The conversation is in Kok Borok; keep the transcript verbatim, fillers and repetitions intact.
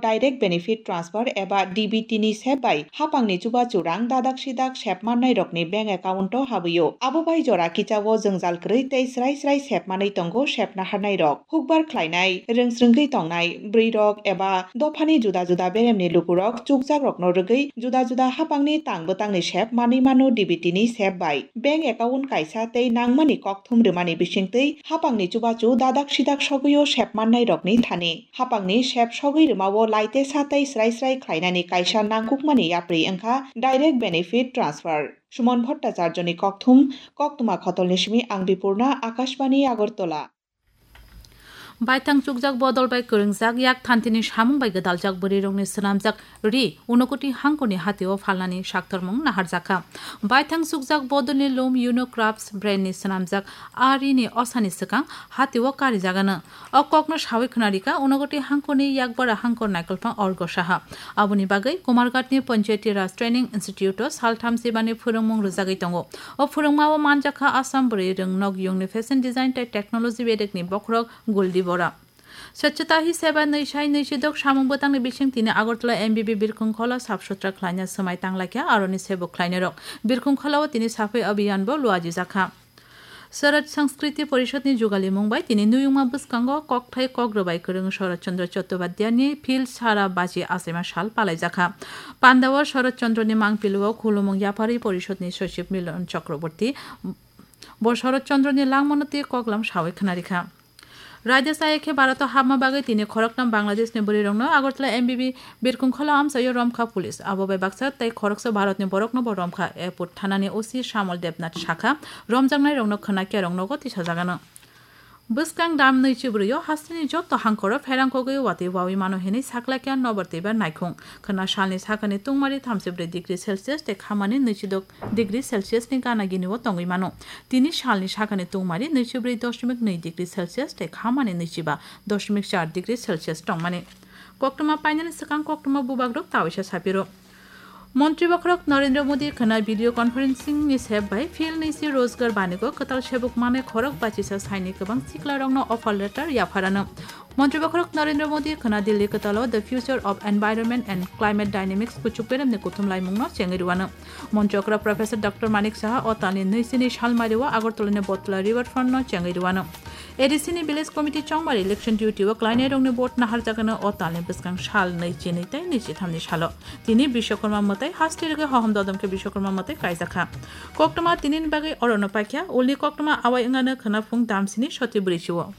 Direct Benefit Transfer eba D B T ni sep bai hapangni chubachu rang dadak sidak sep mannairokni bank account o habwi-o. Abo bai jora kichao jwngjal kwrwi tei srai srai sep manwi tongo sep naharnairok. Hukbar khlainai, rwngsrwngwi tongnai, bwrwirok eba dophani juda juda beremni lukurok chukjakrokno rwgwi juda juda hapangni tang bwtangni sep manwi mano D B T ni sep bai. Bank account kaisa tei nangmani kokthum rwmani bisingtwi hapangni chubachu dadak sidak sogwi-o sep mannairokni thani. Hapangni sep sogwi rwmao laitesa tei srai srai khlainani kaisa nangkukmani yapri wngkha Direct Benefit Transfer. Suman Bhattacharjoni kokthum, koktwma khotolni simi ang Bipurna, Akashbani, Agartala. Baithang chukjak bodol bai kwrwngjak yak thantini samung bai gwdaljak bwrwirokni swnamjak ri Unakoti hangkorni hatio phalnani saktormung naharjakha. Baithang chukjak bodolni loom Uno Crafts brandni swnamjak a rini osani swkang hatio karijagano. O kokno sawi khwnarikha Unakoti hangkorni yakbara hangkor naikolphang Orgo Saha. Aboni bagwi Kumarghatni Panchayati Raj Training Institute-o saltham sibani phwrwngmung rwjagwi tongo. O phwrwngmao manjakha Assam bwrwi rwng nok yungni fashion design tei technology bedekni bokhorok Guldi Bora. Swchhata hi seva nwi sai nwi sidok samung bwtangni bising tini Agartala M B B birkhung khola sap sutra khlaina swmai tanglaikha aroni sebuk khlainairok. Birkhung kholao tini saphai abhiyan bo luajijakha. Swaraj Sanskriti Porishadni jugalimung bai tini nuyungma bwskango kokthai kok rwbai kwrwng Sharad Chandra Chattopadhyayni phil sara baji achaima sal palaijakha. Pandao Sharad Chandrani mangpilio khulumung yapharwi Porishadni Sachiv Milan Chakraborty bo Sharad Chandrani langmano tei koklam sawi khwnarikha. Raida chaya khe Bharat-o hapma bagwi tini khoroknam Bangladeshni bwrwirokno Agartala M B B birkhung khola amchaio romkha police. Abo bai baksa tei khoroksa Bharatni borokno bo romkha. Airport thanani O C Shamol Debnath sakha, romjaknairokno khwna kerong nogo tisajagano. Bwskang dam nwichi bwrwio hasteni joto hangkoro pherang kogwi watwi wawi mano hinwi saklaikha nobar twibar naikhung. Khwna salni sakani tungmari thamsi bwrwi degree Celsius tei khamani nwichi dok degree Celsius ni gana gini o tongwi mano. Tini salni sakani tungmari nwichi bwrwi doshmik nwi degree Celsius tei khamani nwichi ba doshmik char degree Celsius tongmani. Koktwma painani swkang koktwma bubagrok tawisa sapiro. Montri bokhorok Narendra Modi khwna video conferencing ni sep bai phil nisi Rozgar banigo kwtal sebuk manai khorok bachisa saini kwbang siklarokno offer letter yapharano. Montri bokhorok Narendra Modi khwna Delhi kwtalo The Future of Environment and Climate Dynamics kuchuk beremni kuthum laimungno chengwi rwano. Montri okra Professor Doctor Manik Saha o talni nwi sini salmario Agartala ni Botla River Front no chengwi rwano. A D C ni Village Committee chongmari election duty o klainairokni vote naharjakano o talni bwskang sal nwi chinwi tei nwi chithamni salo. Tini Bishwakarma mwtai haste rwgwi hohom dodom khe Bishwakarma mwtai kaijakha. Koktwma tinini bagwi orono paikha, ulni koktwma awai wngano khwna phung damsini soti bwrwi chio.